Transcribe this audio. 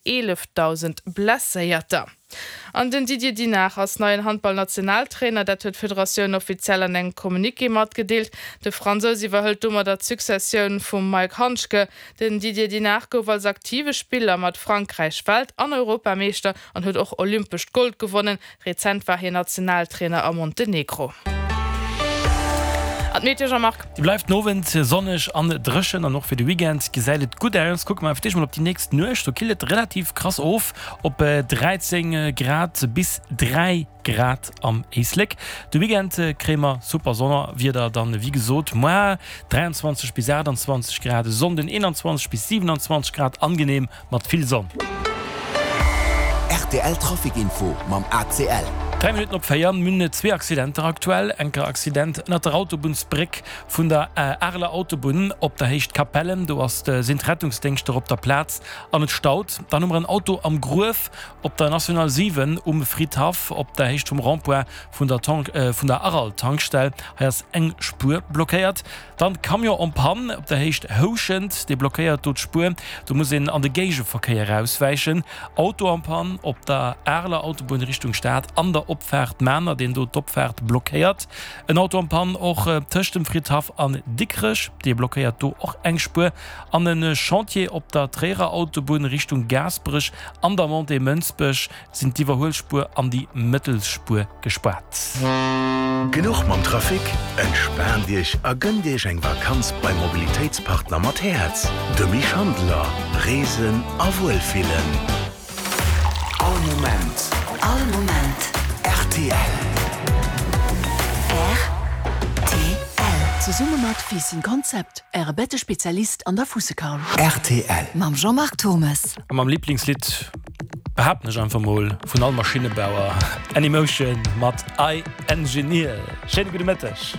11.000 Blesséierter. An den Didier Dinart ass neien Handball-Nationaltrainer. Dat huet d'Federatioun offiziell an engem Communiqué matgedeelt. De Fransous iwwerhëlt domadder d'Successioun vum Mike Handschke. Den Didier Dinart gouf als aktive Spiller mat Frankräich Welt an Europameeschter an huet och olympescht Gold gewonnen. Rezent war hien Nationaltrainer a Montenegro. An d'Meteo, Jean-Marc? Déi bleift den Owend sonneg an dréchen an och fir de Weekend gesäit et gutt aus. Kucke mer fir d'éischt mol op déi nächst Nuecht, do killt et relativ krass of op 13 Grad bis 3 Grad am Éislek. De Weekend kréie mer super Sonnerwieder dann, wéi gesot moar 23 bis 28 Grad, e Sonnden 21 bis 27 Grad, angenehm mat vill Sonn. Rtl Trafic Info mam ACL. 3 Minutten op 4, Mir hunn zwee Accidenter aktuell. Enker Accident ënnert der Autobunnsbréck vun der Areler Autobunn op der Héicht Capellen. Do ass sinn d'Rettungsdéngschter op der Plaz an et staut. Dann hu mer en Auto am Gruef op der National 7 um Fridhaff op der Héicht vum Rond-point vun der vun der Aral-Tankstell. Hei ass eng Spuer blockéiert. Dann Camion en panne op der Héicht Houschent, dee blockéiert do d'Spuer, do muss een an de Géigeverkéier auswäichen. Auto en panne op der Areler Autobunn Richtung Stad an der Opfaart Mamer, deen do d'Opfaart blockéiert. En Auto en panne och tëscht dem Fridhaff an Dikrech, dee blockéiert do och eng Spuer. An e Chantier op der Tréierer Autobunn Richtung Gaasperech an der Montée Mënsbech. Sinn d'Iwwerhuelspuer an déi Mëttelspuer gespaart. Genuch mam Trafic? Entspaant Iech a gënnt Iech eng Vakanz beim Mobilitéitspartner mat Häerz, dem Schandeler. Reesen a Wuelfillen. All Moment. All Moment. Rtl. Rtl. Zesumme mat Ficing Concept, Äre Bettespezialist an der Fussekaul. Rtl. Mam Jean-Marc Thommes. A mam Liblingslidd, behaapten ech einfach mol, vun all Maschinnebauer, Anymotion mat I Engineer. Schéine gudde Mëtteg.